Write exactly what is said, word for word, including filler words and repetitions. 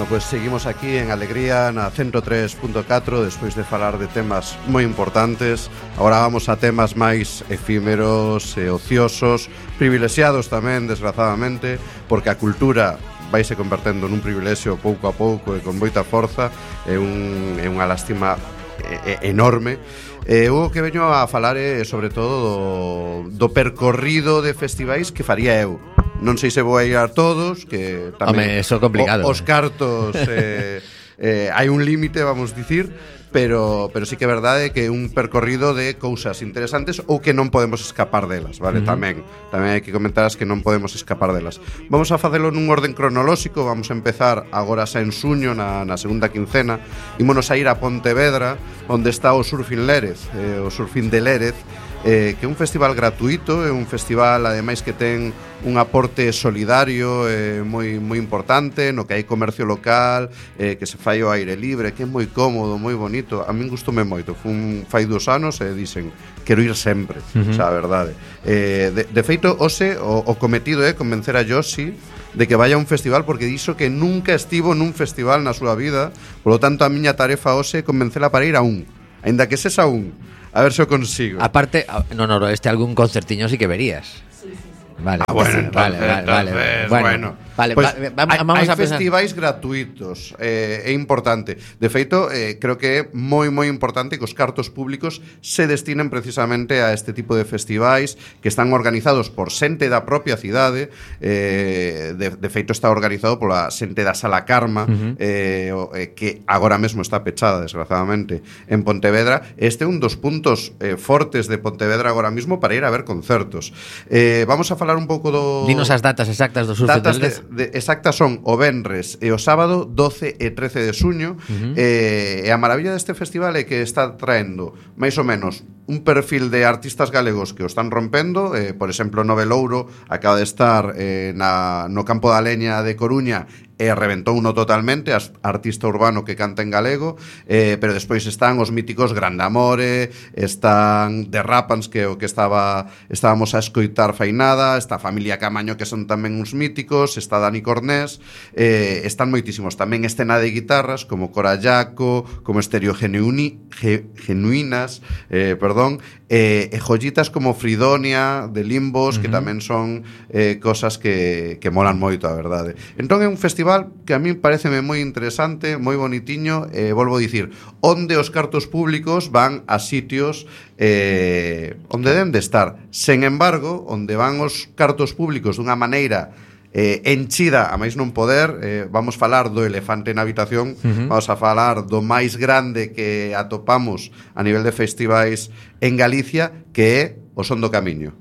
Bueno, pues seguimos aquí en Alegría na ciento tres punto catro despois de falar de temas moi importantes. Agora vamos a temas máis efímeros e ociosos, privilexiados tamén, desgrazadamente, porque a cultura vaise convertendo nun privilexio pouco a pouco e con moita forza. É, un, é unha lástima enorme. Eh, o que veño a falar é sobre todo do, do percorrido de festivais que faría eu. Non sei se vou a ir a todos, que tamén Home, eso é complicado. O, os cartos eh, eh, hai un límite, vamos dicir, pero pero sí que é verdade que é un percorrido de cousas interesantes ou que non podemos escapar delas, vale? Uh-huh. Tamén, tamén hai que comentar as que non podemos escapar delas. Vamos a facelo nun orden cronolóxico. Vamos a empezar agora xa en suño, na, na segunda quincena. Ímonos a ir a Pontevedra, onde está o Surfing Lérez, eh, o Surfing de Lérez, eh, que é un festival gratuito, é un festival ademais que ten un aporte solidario eh, moi moi importante, no que hai comercio local, eh, que se fai ao aire libre, que é moi cómodo, moi bonito. A min gustoume moito. Fun fai dos anos e dicen quero ir sempre, uh-huh. xa, a verdade. Eh, de, de feito, hoxe o, o cometido é convencer a Yoshi de que vaya a un festival, porque dixo que nunca estivo nun festival na súa vida. Polo tanto, a miña tarefa hoxe é convencela para ir a un, aínda que sexa un. A ver se o consigo. Aparte, no, no, este algún concertiño sí que verías. Vale, ah, bueno, vale, entonces, vale, vale, entonces, bueno, bueno. Vale, pues va, va, vamos hai, a hai festivais gratuitos, eh, é importante. De feito, eh, creo que é moi moi importante que os cartos públicos se destinen precisamente a este tipo de festivais que están organizados por xente da propia cidade. eh, de, de feito está organizado pola xente da Sala Karma, uh-huh. eh, eh, que agora mesmo está pechada, desgraciadamente, en Pontevedra. Este é un dos puntos eh, fortes de Pontevedra agora mesmo para ir a ver concertos. eh, Vamos a falar un pouco do... Dinos as datas exactas do Surfing Datas de Lérez. de, exactas son o venres e o sábado doce e trece de suño. uh-huh. eh, E a maravilla deste festival é que está traendo máis ou menos un perfil de artistas galegos que o están rompendo. eh, Por exemplo, Novelouro acaba de estar eh, na, no Campo da Leña de Coruña e reventou uno totalmente, artista urbano que canta en galego. eh, Pero despois están os míticos Grandamore, están Derrapans, que o que estaba estábamos a escoitar fai nada, está a familia Camaño, que son tamén uns míticos, está Dani Cornés, eh, están moitísimos. Tamén escena de guitarras como Corallaco, como Estereo Genuini, Ge, Genuinas, eh, perdón, eh, e joyitas como Fridonia, de Limbos, uh-huh. que tamén son eh, cosas que, que molan moito, a verdade. Entón é un festival que a mí pareceme moi interesante, moi bonitiño. eh, Volvo a dicir, onde os cartos públicos van a sitios eh, onde deben de estar. Sen embargo, onde van os cartos públicos dunha maneira eh, enchida a máis non poder, eh, vamos falar do elefante na habitación, uh-huh. vamos a falar do máis grande que atopamos a nivel de festivais en Galicia, que é o Son do Camiño.